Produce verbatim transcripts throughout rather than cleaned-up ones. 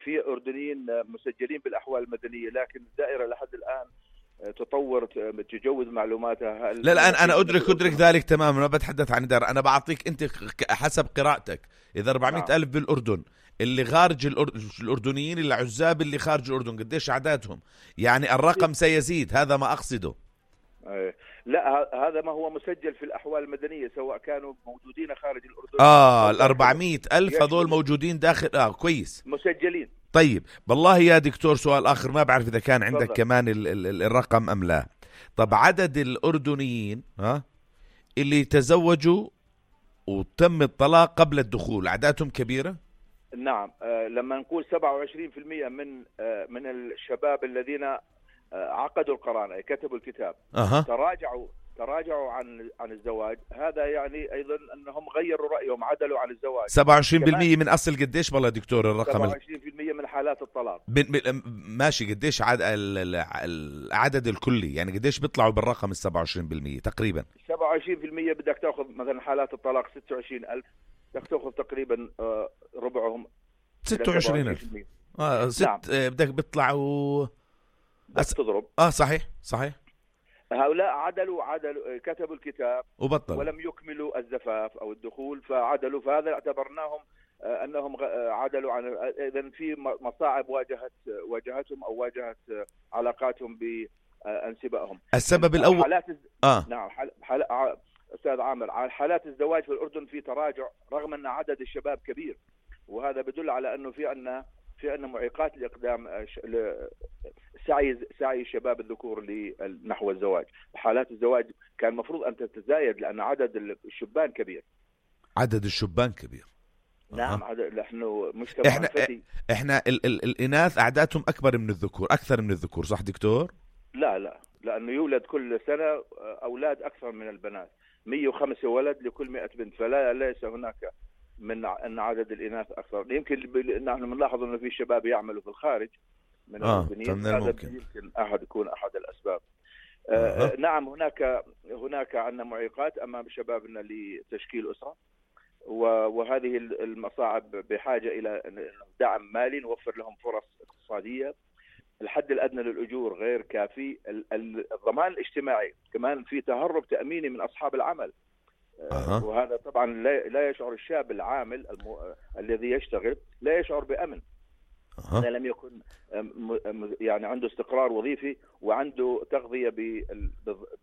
في أردنيين مسجلين بالأحوال المدنية، لكن الدائرة لحد الآن تطور تجوز معلوماتها. لا لا أنا, أنا أدرك أدرك ذلك تماما، ما بتحدث عن دار. أنا بعطيك أنت حسب قراءتك إذا أربعمائة ألف بالأردن اللي خارج الأردنيين العزاب اللي خارج الأردن قديش عددهم؟ يعني الرقم سيزيد، هذا ما أقصده. لا هذا ما هو مسجل في الأحوال المدنية سواء كانوا موجودين خارج الأردن. آه الأربعمائة ألف هذول موجودين داخل. آه كويس مسجلين. طيب بالله يا دكتور سؤال آخر، ما بعرف إذا كان عندك فضل. كمان ال ال الرقم أم لا. طب عدد الأردنيين ها اللي تزوجوا وتم الطلاق قبل الدخول عددهم كبيرة؟ نعم. آه لما نقول سبعة وعشرين بالمئة من آه من الشباب الذين آه عقدوا القرانة كتبوا الكتاب أه. تراجعوا تراجعوا عن عن الزواج، هذا يعني أيضا أنهم غيروا رأيهم، عدلوا عن الزواج. سبعة وعشرين بالمئة من أصل قديش بالله دكتور الرقم؟ سبعة وعشرين بالمئة من حالات الطلاق. ماشي، قديش عدد العدد الكلي يعني قديش بيطلعوا بالرقم السبعة وعشرين بالمئة تقريبا؟ سبعة وعشرين بالمئة بدك تأخذ مثلا حالات الطلاق ستة وعشرين ألف، بدك تأخذ تقريبا ربعهم ستة وعشرين ألف. آه ست. نعم. بدك بيطلعوا أس... تضرب. اه صحيح صحيح. هؤلاء عدلوا عدلوا كتبوا الكتاب وبطلوا ولم يكملوا الزفاف او الدخول فعدلوا، فهذا اعتبرناهم انهم عدلوا عن. اذا في مصاعب واجهت واجهتهم او واجهت علاقاتهم بانسبائهم. السبب الاول حالات اه نعم حال... حال... استاذ عامر، على حالات الزواج في الاردن في تراجع رغم ان عدد الشباب كبير، وهذا بدل على انه في عندنا في عندنا معيقات لاقدام سعي سعي الشباب الذكور نحو الزواج. حالات الزواج كان المفروض ان تتزايد لان عدد الشبان كبير. عدد الشبان كبير. نعم. أه. نحن مجتمع احنا فتي. احنا ال ال الاناث اعدادهم اكبر من الذكور، اكثر من الذكور، صح دكتور؟ لا لا، لانه يولد كل سنه اولاد اكثر من البنات، مئة وخمسة ولد لكل مئة بنت، فلا ليس هناك من ان عدد الاناث اكثر. يمكن نحن بنلاحظ انه في شباب يعملوا في الخارج من آه الأردنيين، هذا يمكن احد يكون احد الاسباب. آه آه. نعم هناك هناك عندنا معيقات امام شبابنا لتشكيل اسره، وهذه المصاعب بحاجه الى دعم مالي نوفر لهم فرص اقتصاديه. الحد الادنى للاجور غير كافي، الضمان الاجتماعي كمان في تهرب تاميني من اصحاب العمل. أه. وهذا طبعا لا يشعر الشاب العامل المو... الذي يشتغل لا يشعر بأمن أه. إذا لم يكن يعني عنده استقرار وظيفي وعنده تغذية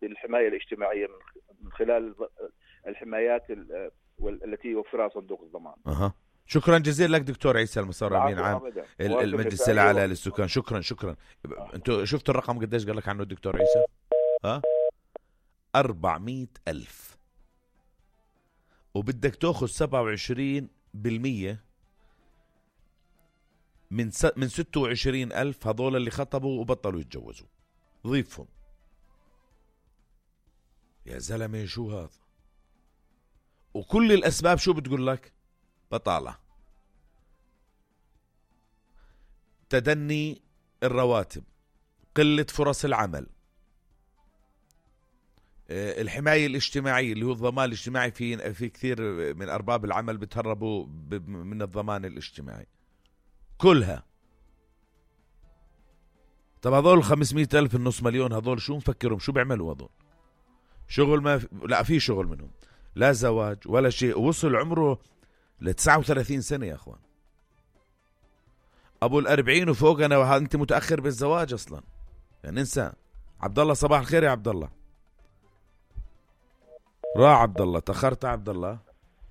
بالحماية الاجتماعية من خلال الحمايات التي يوفرها صندوق الضمان. أه. شكرا جزيلا لك دكتور عيسى المصار امين عام المجلس الاعلى للسكان. شكرا شكرا. أه. انتوا شفتوا الرقم قديش قال لك عنه الدكتور عيسى؟ ها أربعمائة ألف، وبدك تأخذ سبعة وعشرين بالمية من س... من ستة وعشرين ألف هذول اللي خطبوا وبطلوا يتجوزوا، ضيفهم. يا زلمة شو هذا؟ وكل الأسباب شو بتقول لك؟ بطالة، تدني الرواتب، قلة فرص العمل، الحماية الاجتماعية اللي هو الضمان الاجتماعي. في في كثير من أرباب العمل بتهربوا من الضمان الاجتماعي كلها. طب هذول خمسمائة ألف النص مليون هذول شو مفكرهم؟ شو بيعملوا هذول؟ شغل ما في... لا في شغل منهم، لا زواج ولا شيء. وصل عمره ل تسعة وثلاثين سنة يا أخوان، أبو الأربعين وفوق. أنا أنت متأخر بالزواج أصلا يعني انسى. عبد الله صباح الخير يا عبد الله. راح عبد الله، تأخرت عبد الله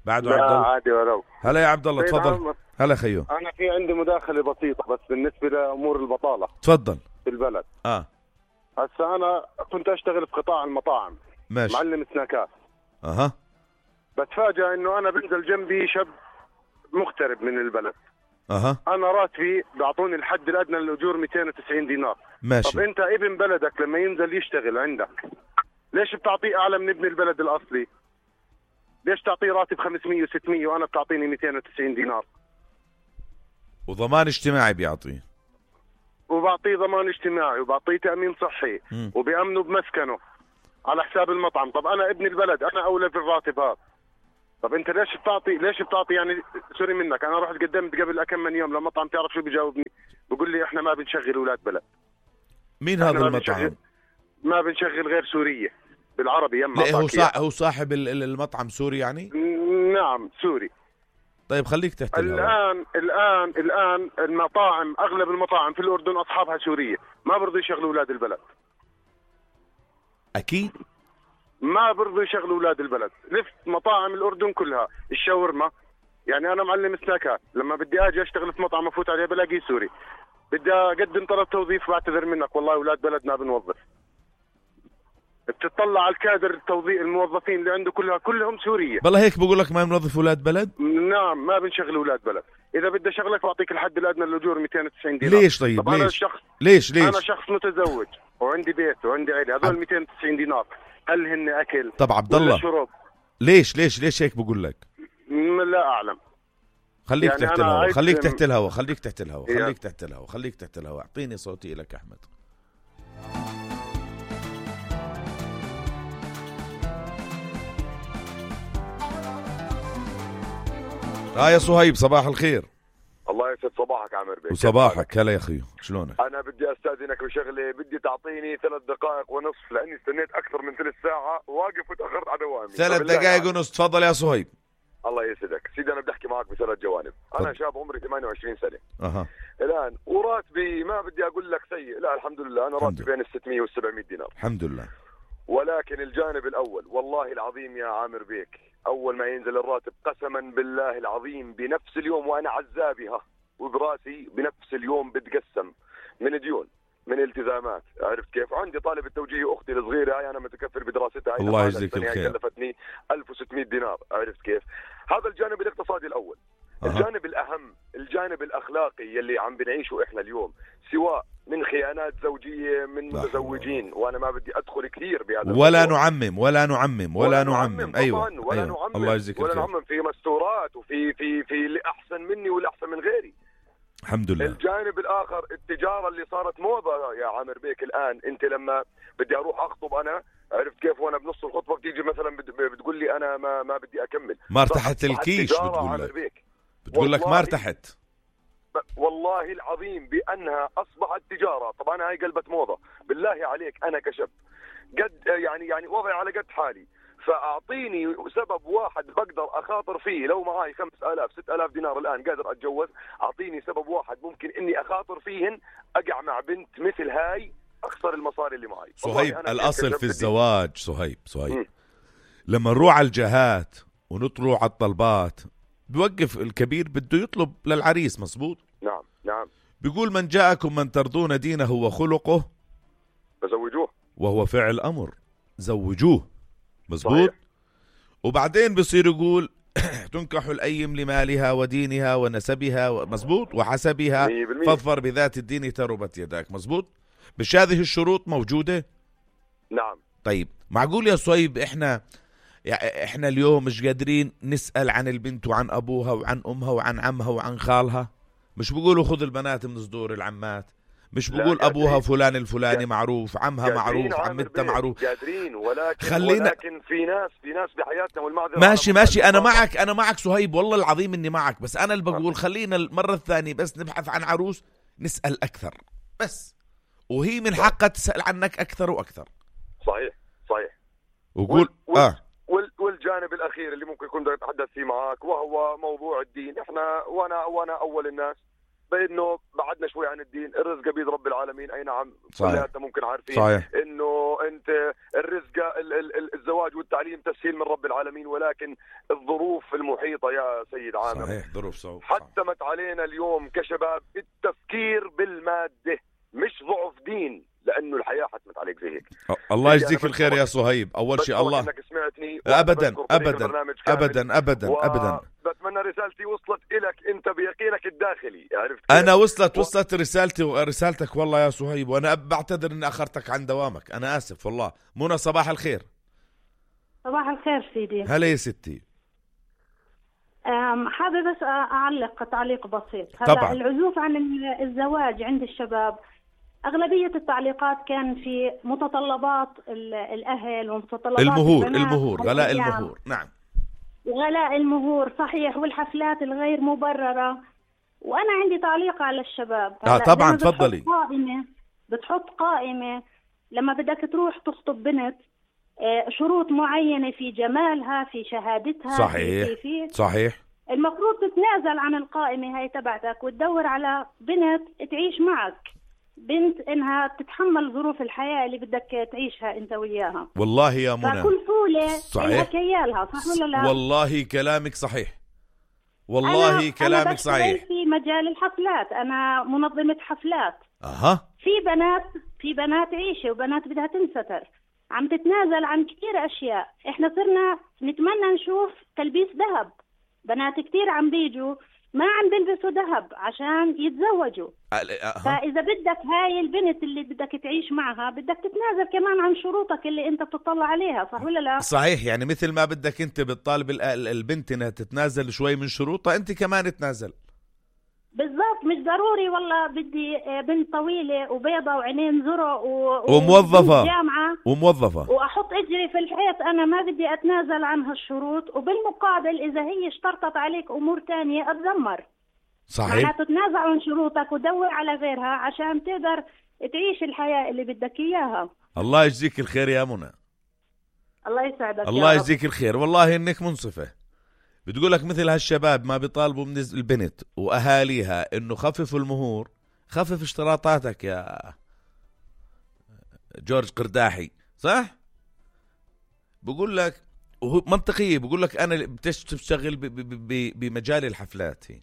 بعده. عبد الله عادي ولو. هلا يا عبد الله تفضل. هلا خيو. أنا في عندي مداخلة بسيطة بس بالنسبة لأمور البطالة. تفضل. في البلد. آه. هسا أنا كنت أشتغل في قطاع المطاعم. ماشي. معلم سناكات. أها. بتفاجأ إنه أنا بنزل جنبي شاب مغترب من البلد. أها. أنا راتبي بيعطوني الحد الأدنى للأجور مئتين وتسعين دينار. ماشي. طب أنت ابن بلدك لما ينزل يشتغل عندك ليش بتعطيه أعلى من ابن البلد الأصلي؟ ليش تعطيه راتب خمسمية وستمية وأنا بتعطيني مئتين وتسعين دينار؟ وضمان اجتماعي بيعطيه، وبعطيه ضمان اجتماعي وبعطيه تأمين صحي م. وبيأمنوا بمسكنه على حساب المطعم. طب أنا ابن البلد أنا أولى بالراتب هذا. طب انت ليش بتعطي ليش بتعطي يعني سوري منك، انا رحت قدمت قبل كم من يوم لمطعم، تعرف شو بيجاوبني؟ بقول لي احنا ما بنشغل اولاد بلد. مين هذا ما المطعم؟ بنشغل ما بنشغل غير سوريه بالعربي. يما لا هو صاحب هو صاحب المطعم سوري يعني؟ نعم سوري. طيب خليك تحت الان الان الان المطاعم، اغلب المطاعم في الاردن اصحابها سوريه، ما برضوا يشغلوا اولاد البلد. اكيد ما برضوا يشغلوا اولاد البلد. لفت مطاعم الاردن كلها الشاورما، يعني انا معلم سناكات، لما بدي اجي اشتغل في مطعم افوت عليه بلاقيه سوري، بدي اقدم طلب توظيف بعتذر منك والله اولاد بلد ما بنوظف. بتطلع على الكادر التوظيف الموظفين اللي عنده كلها كلهم سوريه. والله هيك بقول لك ما بنوظف اولاد بلد؟ نعم ما بنشغل اولاد بلد. اذا بدي اشغلك بعطيك الحد الادنى للاجور مئتين وتسعين دينار. ليش طيب؟ طب ليش؟ أنا شخص ليش ليش انا شخص متزوج وعندي بيت وعندي عيله، هذول مئتين وتسعين دينار هل هن اكل؟ طب عبد الله شرب؟ ليش ليش ليش هيك بقول لك؟ لا اعلم. خليك يعني تحت الهواء، خليك تحت الهواء، خليك تحت الهواء، يعني. خليك تحت الهواء، خليك تحت الهواء. اعطيني صوتي لك احمد. اه يا صهيب صباح الخير. الله يسعد صباحك عامر بيك. وصباحك. هلا يا اخي شلونك؟ انا بدي استاذنك بشغله، بدي تعطيني ثلاث دقائق ونصف لاني استنيت اكثر من ثلث ساعه واقف وتاخرت على دوامي. ثلاث دقائق ونص. تفضل يا صهيب. الله يسعدك سيدي. انا بدي احكي معك بثلاث جوانب. انا شاب عمري ثمانية وعشرين سنه اها الان، وراتبي ما بدي اقول لك سيء، لا الحمد لله، انا راتبي بين ال ستمية وال سبعمية دينار الحمد لله. ولكن الجانب الاول والله العظيم يا عامر بيك، اول ما ينزل الراتب قسما بالله العظيم بنفس اليوم وانا عزابها وبراسي بنفس اليوم بتقسم من ديون من التزامات، عرفت كيف؟ عندي طالب التوجيه اختي الصغيره هاي انا متكفل بدراستها، الله يجزيك الخير، كلفتني ألف وستمية دينار، عرفت كيف؟ هذا الجانب الاقتصادي الاول. أه. الجانب الاهم الجانب الاخلاقي يلي عم بنعيشه احنا اليوم، سواء من خيانات زوجيه من متزوجين، وانا ما بدي ادخل كثير بهذا ولا الموضوع. نعمم ولا نعمم ولا, ولا نعمم, نعمم. ايوه ولا أيوة. نعمم الله يجزيك ولا الخير. نعمم في مستورات وفي في في اللي احسن مني واللي احسن من غيري، الحمد لله. الجانب الاخر التجاره اللي صارت موضه يا عامر بيك. الان انت لما بدي اروح اخطب انا، عرفت كيف؟ وانا بنص الخطبه بتيجي مثلا بتقول لي انا ما ما بدي اكمل، ما ارتحت الكيش، بتقول لك بتقول لك ما ارتحت. والله العظيم بانها اصبحت تجاره. طبعا هاي قلبت موضه. بالله عليك انا كشاب قد يعني يعني وضعي على قد حالي، فاعطيني سبب واحد بقدر اخاطر فيه. لو معي خمسة آلاف ستة آلاف دينار الان قادر اتجوز، اعطيني سبب واحد ممكن اني اخاطر فيهن اقع مع بنت مثل هاي اخسر المصاري اللي معي. صهيب الاصل في الزواج صهيب صهيب م. لما نروح على الجهات ونطلع على الطلبات بيوقف الكبير بده يطلب للعريس، مزبوط؟ نعم نعم. بيقول من جاءكم من ترضون دينه وخلقه فزوجوه، وهو فعل امر زوجوه، مزبوط. وبعدين بصير يقول تنكح الايم لمالها ودينها ونسبها، مزبوط، وحسبها فاظفر بذات الدين تربت يداك، مزبوط. مش هذه الشروط موجوده؟ نعم. طيب معقول يا صهيب احنا يعني احنا اليوم مش قادرين نسأل عن البنت وعن ابوها وعن امها وعن عمها وعن خالها؟ مش بيقولوا خذ البنات من صدور العمات؟ مش بقول ابوها فلان الفلاني معروف، عمها معروف، عمتها معروف؟ قادرين، ولكن خلينا ولكن في ناس في ناس بحياتنا والمعذره. ماشي ماشي انا معك انا معك صهيب، والله العظيم اني معك، بس انا اللي بقول خلينا المره الثانيه بس نبحث عن عروس نسأل اكثر بس، وهي من حقها تسأل عنك اكثر واكثر. صحيح صحيح. وقول وال... اه والجانب الاخير اللي ممكن كنت اتحدث فيه معك وهو موضوع الدين. احنا وانا وانا اول الناس بانه بعدنا شوي عن الدين. الرزق بيد رب العالمين، اي نعم كلياتنا ممكن عارفين صحيح. انه انت الرزق ال ال الزواج والتعليم تسهيل من رب العالمين، ولكن الظروف المحيطه يا سيد عامر صحيح ظروف صعبه حتمت علينا اليوم كشباب التفكير بالماده، مش ضعف دين، لانه الحياه حتمت عليك زي هيك. الله يجزيك الخير يا صهيب. اول شيء الله انك سمعتني ابدا ابدا ابدا ابدا ابدا. بتمنى رسالتي وصلت لك انت بيقينك الداخلي، عرفت؟ انا وصلت وصلت رسالتي ورسالتك والله يا صهيب، وانا بعتذر اني اخرتك عن دوامك، انا اسف والله. منى صباح الخير. صباح الخير سيدي. هلا يا ستي. حابب بس اعلق تعليق بسيط. طبعا. العزوف عن الزواج عند الشباب أغلبية التعليقات كان في متطلبات الأهل ومتطلبات المهور المهور غلاء المهور. نعم وغلاء المهور صحيح، والحفلات الغير مبررة. وأنا عندي تعليق على الشباب. آه طبعا تفضلي. قائمة بتحط قائمة لما بدك تروح تخطب بنت، شروط معينة في جمالها، في شهادتها، صحيح في في صحيح. المفروض تتنازل عن القائمة هاي تبعتك وتدور على بنت تعيش معك، بنت إنها تتحمل ظروف الحياة اللي بدك تعيشها أنت وياها. والله يا منى فكل فولة صحيح كيالها، صح ولا لا؟ والله كلامك صحيح، والله أنا كلامك أنا صحيح. في مجال الحفلات، أنا منظمة حفلات. أها. في بنات في بنات عيشة وبنات بدها تنستر، عم تتنازل عن كثير أشياء. إحنا صرنا نتمنى نشوف تلبيس ذهب، بنات كثير عم بيجوا ما عم بيلبسوا ذهب عشان يتزوجوا. أه. فإذا بدك هاي البنت اللي بدك تعيش معها بدك تتنازل كمان عن شروطك اللي أنت بتطلع عليها، صح ولا لا؟ صحيح، يعني مثل ما بدك أنت بتطالب البنت إنها تتنازل شوي من شروطها، أنت كمان تنازل. بالضبط، مش ضروري والله بدي بنت طويلة وبيضة وعينين زرق و... وموظفة جامعة وموظفة وأحط إجري في الحيط، أنا ما بدي أتنازل عن هالشروط، وبالمقابل إذا هي اشترطت عليك أمور تانية أتذمر. صحيح. معناته تتنازل عن شروطك ودور على غيرها عشان تقدر تعيش الحياة اللي بدك إياها. الله يجزيك الخير يا منى. الله يسعدك. الله يجزيك الخير، والله إنك منصفة. بتقولك مثل هالشباب ما بيطالبوا من البنت وأهاليها إنه خففوا المهور، خفف اشتراطاتك يا جورج قرداحي، صح؟ بقول لك وهو منطقية، بقول لك أنا بتشتغل بمجال الحفلات، هي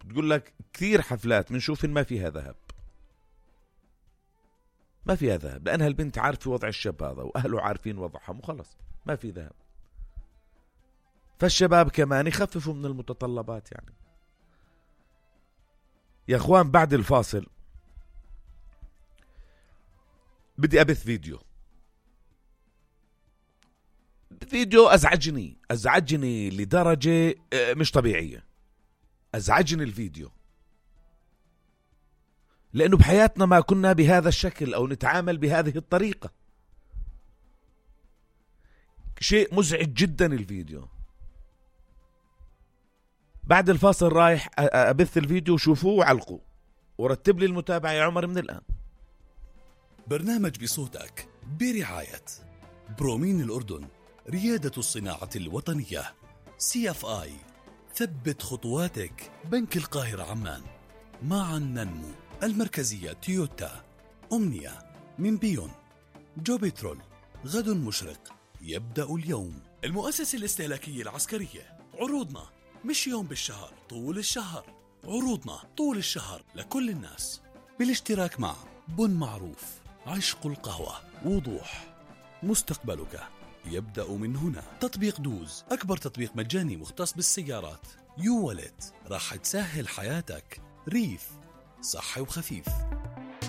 بتقول لك كثير حفلات بنشوف إن ما فيها ذهب، ما فيها ذهب، لأنها البنت عارفة وضع الشاب هذا وأهله عارفين وضعهم وخلص ما في ذهب. فالشباب كمان يخففوا من المتطلبات. يعني يا اخوان بعد الفاصل بدي أبث فيديو فيديو أزعجني أزعجني لدرجة مش طبيعية. أزعجني الفيديو لأنه بحياتنا ما كنا بهذا الشكل أو نتعامل بهذه الطريقة. شيء مزعج جدا الفيديو. بعد الفاصل رايح أبث الفيديو، وشوفوه وعلقوا ورتب لي المتابعة يا عمر من الآن. برنامج بصوتك برعاية برومين الأردن، ريادة الصناعة الوطنية، سي اف آي، ثبت خطواتك، بنك القاهرة عمان، معا ننمو، المركزية تويوتا، أمنية، من بيون، جو بترول، غد مشرق، يبدأ اليوم، المؤسسة الاستهلاكية العسكرية. عروضنا مش يوم بالشهر، طول الشهر. عروضنا طول الشهر لكل الناس، بالاشتراك مع بن معروف، عشق القهوة، وضوح، مستقبلك يبدأ من هنا. تطبيق دوز، أكبر تطبيق مجاني مختص بالسيارات. يو والت، راح تسهل حياتك. ريف، صحي وخفيف.